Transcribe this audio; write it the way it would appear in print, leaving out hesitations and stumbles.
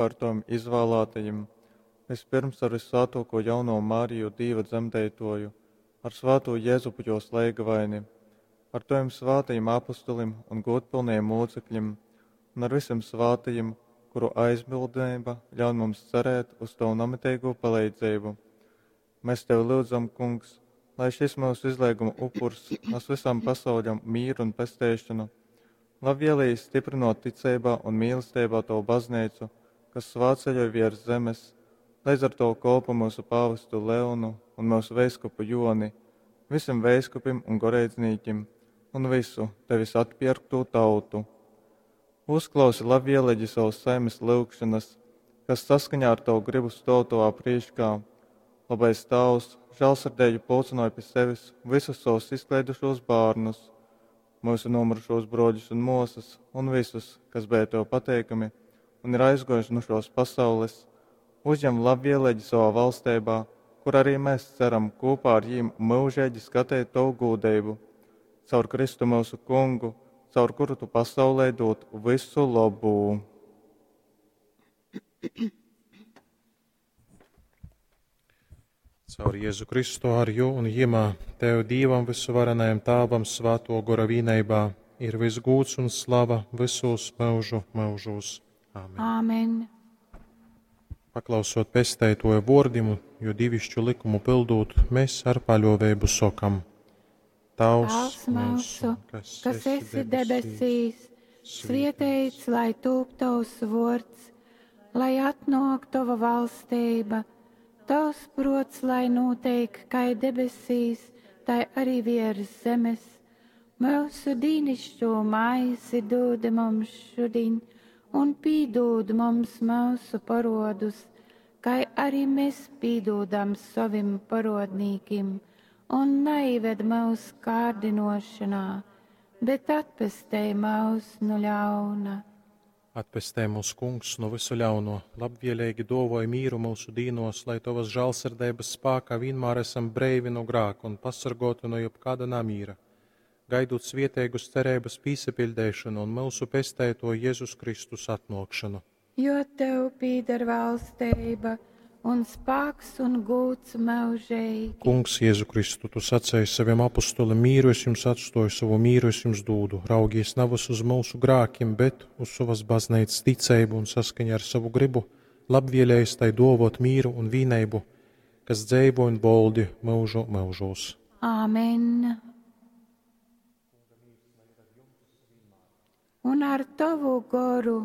Ar tovim izvālātajim, vyspyrms ar vyssvātōkū jaunovu Mariju, Dīva dzemdeitōju, ar svātū Jezupu jōs leigavaini, ar tovim svātajim apostolim un gūdpylnajim mūcekļim un ar vysim svātajim, kuru aizbildneiba ļaun mums cerēt uz tovu namiteigū paleidzeibu. Mēs tevi lyudzam, Kungs, lai šis myusu izleiguma upurs nas visam pasauļam mīru un pesteišanu. Labvēlīgi stiprinot ticeibā un mīlestībā tavu baznīcu, kas svētceļoj viers zemes, leidz ar tavu kolpu mūsu pāvestu Leonu un mūsu veiskupu Joni, visiem veiskupim un goreidznīkim un visu tevis atpierktū tautu. Uzklausi labvēlīgi savas saimes lyugšanas, kas saskaņā ar tavu gribu stāv tavā priekšā. Labais Tēvs, žēlsirdīgi pulcināja pie sevis visus savus izklaidušos bērnus, mūsu nomurušos broļus un māsas un visus, kas bija tev pateikami un ir aizgojuši no šos pasaules, uzņem labvēlīgi savā valstībā, kur arī mēs ceram kopā ar jīm mūžīgi skatīt tavu gūdību. Caur Kristu mūsu kungu, caur kuru tu pasaulē dod visu labu. Caur Jēzu Kristu ar jū un jimā, Tev Dīvam vysuvarenajam Tāvam svāto gora vīneibā ir viss gūds un slava visos mūžu mūžos. Āmen. Āmen. Paklausot pesteitoja vordim, jo divišķu likumu pildūt, mēs ar paļovēbu sokam. Tavs mūsu, kas esi debesīs, svietēts, lai tūp tavs vords, lai atnāk tava valstība, tavs prots, lai notiek, kā debesīs, tai arī virs zemes. Mūsu dīnišķo maizi dod mums šodien, un pīdod mums mūsu parodus, kā arī mēs pīdodam savim parodnīkim, un neived mūsu kārdinošanā, bet atpestē mūs no ļauna. Atpestē mūs, Kungs, no visu ļauno, labvēlīgi dovoja mīru mūsu dīnos, lai tavas žālsirdības spākā vienmēr esam breivi no grāka un pasargoti no jebkāda namīra, gaidot svietēgus cerības pīsapildēšanu un mūsu pestēto Jēzus Kristus atnākšanu. Jo tev pīder valstība un spāks un gūts mūžīgi. Kungs, Jēzu Kristu, tu sacēji saviem apustulim, mīru es jums atstoju, savu mīru es jums dūdu. Raugies navas uz mūsu grākiem, bet uz savas baznīcas ticību un saskaņā ar savu gribu, labvēlējis tai dovot mīru un vīneibu, kas dzeivo un boldi mūžu mūžos. Āmen. Un ar tavu goru.